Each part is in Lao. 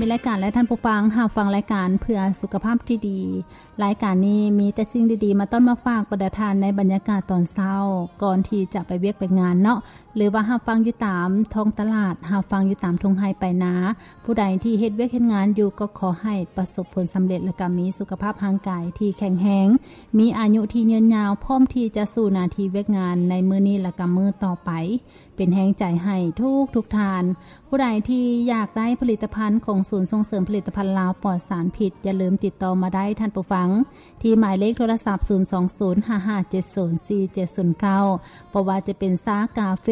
ມີລາຍການ ແລະ ທ່ານຜູ້ຟັງ ຮັບຟັງລາຍການເພື່ອສຸຂະພາບທີ່ດີ. ລາຍການນີ້ມີແຕ່ສິ່ງດີໆ ມາຕ້ອນມາຝາກບັນດາທ່ານໃນບັນຍາກາດຕອນເຊົ້າ ກ່ອນທີ່ຈະໄປວຽກໄປງານເນາະ ຫຼືວ່າຮັບຟັງຢູ່ຕາມທ້ອງຕະຫຼາດ, ຮັບຟັງຢູ່ຕາມທົ່ງໄຮ່ໄປນາ. ຜູ້ໃດທີ່ເຮັດວຽກເຮັດງານຢູ່ ກໍຂໍໃຫ້ປະສົບຜົນສຳເລັດ ແລະ ກໍມີສຸຂະພາບຮ່າງກາຍທີ່ແຂງແຮງ, ມີອາຍຸທີ່ຍືນຍາວ, ພ້ອມທີ່ຈະສູ້ໜ້າທີ່ວຽກງານໃນມື້ນີ້ ແລະ ກໍມື້ຕໍ່ໄປ. ເປັນແຮງໃຈໃຫ້ທຸກໆທ່ານ. ຜູ້ໃດທີ່ຢາກໄດ້ຜະລິດຕະພັນຂອງສູນສົ່ງເສີມຜະລິດຕະພັນລາວປອດສານພິດ, ຢ່າລືມຕິດຕໍ່ມາໄດ້ທ່ານຜູ້ຟັງ ທີ່ໝາຍເລກໂທລະສັບ ສູນສອງສູນ ຫ້າຫ້າເຈັດສູນ ສີ່ເຈັດສູນເກົ້າ. ບໍ່ວ່າຈະເປັນຊາກາເຟ,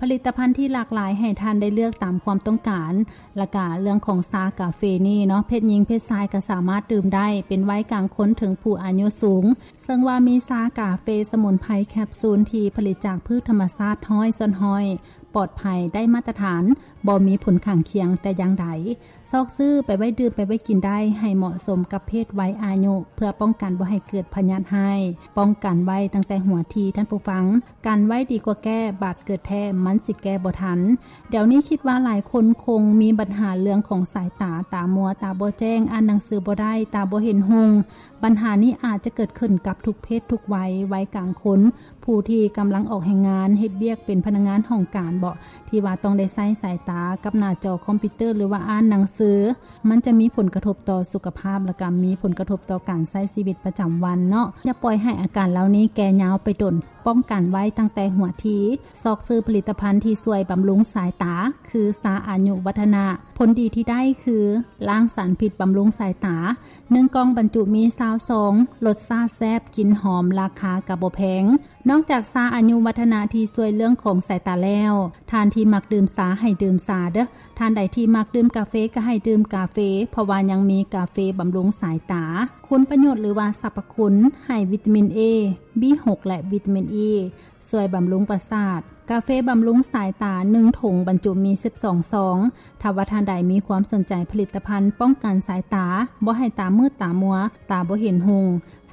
ຜະລິດຕະພັນທີ່ຫຼາກຫຼາຍໃຫ້ທ່ານໄດ້ເລືອກຕາມຄວາມຕ້ອງການ. ແລະກະເລື່ອງຂອງຊາກາເຟນີ້ເນາະ, ເພດຍິງເພດຊາຍກໍສາມາດດື່ມໄດ້, ເປັນໄວກາງຄົນເຖິງຜູ້ອາຍຸສູງ. ເຊິ່ງວ່າມີຊາກາເຟສະໝຸນໄພແຄບຊູນທີ່ຜະລິດຈາກພືດທຳມະຊາດຮ້ອຍສ່ວນຮ້ອຍ, ປອດໄພ, ໄດ້ມາດຕະຖານ, ບໍ່ມີຜົນຂ້າງຄຽງແຕ່ຢ່າງໃດ. ຊອກຊື້ໄປໄວ້ດື່ມໄປໄວ້ກິນໄດ້ ໃຫ້ເໝາະສົມກັບເພດໄວອາຍຸ ເພື່ອປ້ອງກັນບໍ່ໃຫ້ເກີດພະຍາດຮ້າຍ. ປ້ອງກັນໄວ້ຕັ້ງແຕ່ຫົວທີທ່ານຜູ້ຟັງ, ກັນໄວ້ດີກວ່າແກ້, ບາດເກີດແທ້ມັນຊິແກ້ບໍ່ທັນ. ດຽວນີ້ຄິດວ່າຫຼາຍຄົນຄົງມີບັນຫາເລື່ອງຂອງສາຍຕາ, ຕາມົວ, ຕາບໍ່ແຈ້ງ, ອ່ານໜັງສືບໍ່ໄດ້, ຕາບໍ່ເຫັນຮຸ່ງ. ບັນຫານີ້ອາດຈະເກີດຂຶ້ນກັບທຸກເພດທຸກໄວ, ໄວກາງຄົນ, ຜູ້ທີ່ກຳລັງອອກແຮງງານ, ເຮັດວຽກເປັນພະນັກງານຫ້ອງການເບາະ, ທີ່ວ່າຕ້ອງໄດ້ໃຊ້ສາຍຕາກັບໜ້າຈໍຄອມພິວເຕີ ຫຼືວ່າອ່ານໜັງສື, ມັນຈະມີຜົນກະທົບຕໍ່ສຸຂະພາບ ແລະກະມີຜົນກະທົບຕໍ່ການໃຊ້ຊີວິດປະຈຳວັນເນາະ. ຢ່າປ່ອຍໃຫ້ອາການເຫຼົ່ານີ້ແກ່ຍາວໄປດົນ, ປ້ອງກັນໄວ້ຕັ້ງແຕ່ຫົວທີ. ຊອກຊື້ຜະລິດຕະພັນທີ່ຊ່ວຍບຳລຸງສາຍຕາ ຄືຊາອາຍຸວັດທະນະ. ຜົນດີທີ່ໄດ້ຄືລ້າງສານພິດ, ບຳລຸງສາຍຕາ. ໜຶ່ງກ່ອງບັນຈຸມີຊາວຊອງ, ລົດຊາດແຊບ, ກິ່ນຫອມ, ລາຄາກໍບໍ່ແພງ. ນອກຈາກຊາອາຍຸວັດທະນະທີ່ຊ່ວຍເລື່ອງຂອງສາຍຕາແລ້ວ, ທ່ານທີ່ມັກດື່ມຊາໃຫ້ດື່ມຊາເດີ້. ທ່ານໃດທີ່ມັກດື່ມກາເຟກໍໃຫ້ດື່ມກາເຟ, ເພາະວ່າຍັງມີກາເຟບຳລຸງສາຍຕາ. ຄຸນປະໂຫຍດ ຫຼືວ່າສັບພະຄຸນ, ໃຫ້ວິຕາມິນເອ, ບີຫົກ ແລະ ວິຕາມິນອີ, ຊ່ວຍບຳລຸງປະສາດ. ກາເຟບຳລຸງສາຍຕາ ໜຶ່ງຖົງບັນຈຸມີສິບສອງຊອງ. ຖ້າວ່າທ່ານໃດມີຄວາມສົນໃຈຜະລິດຕະພັນປ້ອງກັນສາຍຕາ, ບໍ່ໃຫ້ຕາມືດຕາມົວ, ຕາບໍ່ເຫັນຮຸ່ງ,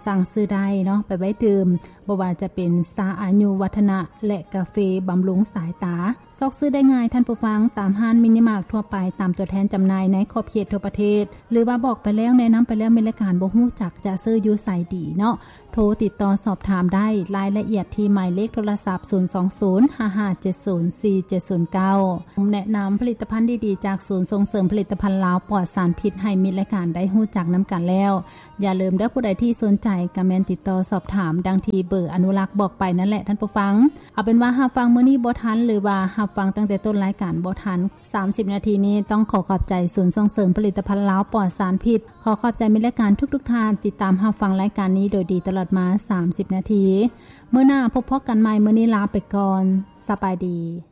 ສັ່ງຊື້ໄດ້ເນາະ ໄປໄວ້ດື່ມ, ບໍ່ວ່າຈະເປັນຊາອາຍຸວັດທະນະ ແລະ ກາເຟບຳລຸງສາຍຕາ. ຊອກຊື້ໄດ້ງ່າຍທ່ານຜູ້ຟັງ, ຕາມຮ້ານມິນິມາດທົ່ວໄປ, ຕາມຕົວແທນຈຳໜ່າຍໃນຂອບເຂດທົ່ວປະເທດ, ຫຼືວ່າບອກໄປແລ້ວ, ແນະນຳໄປແລ້ວ, ແມ່ນລາຍການບໍ່ຮູ້ຈັກຈະຊື້ຢູ່ໃສດີເນາະ. ໂທຕິດຕໍ່ສອບຖາມໄດ້, ລາຍລະອຽດທີ່ໝາຍເລກໂທລະສັບ ສູນສອງສູນ ຫ້າຫ້າເຈັດສູນ ສີ່ເຈັດສູນເກົ້າ. ແນະນຳຜະລິດຕະພັນດີໆ ຈາກສູນສົ່ງເສີມຜະລິດຕະພັນລາວປອດສານພິດ ໃຫ້ມິດລາຍການໄດ້ຮູ້ຈັກນຳກັນແລ້ວ. ຢ່າລືມເດີ້, ຜູ້ໃດທີ່ສົນໃຈກໍແມ່ນຕິດຕໍ່ສອບຖາມ ດັ່ງທີ່ເບີອະນຸລັກບອກໄປນັ້ນແຫຼະທ່ານຜູ້ຟັງ. ເອົາເປັນວ່າຮັບຟັງມື້ນີ້ບໍ່ທັນ ຫຼືວ່າຮັບຟັງຕັ້ງແຕ່ຕົ້ນລາຍການບໍ່ທັນ, ສາມສິບນາທີນີ້ຕ້ອງຂໍຂອບໃຈສູນສົ່ງເສີມຜະລິດຕະພັນລາວປອດສານພິດ. ຂໍຂອບໃຈມິດລາຍການທຸກໆທ່ານ ຕິດຕາມຮັບຟັງລາຍການນີ້ໂດຍດີຕະຫຼອດມາສາມສິບນາທີ. ມື້ໜ້າພົບພໍ້ກັນໃໝ່, ມື້ນີ້ລາໄປກ່ອນ. ສະບາຍດີ.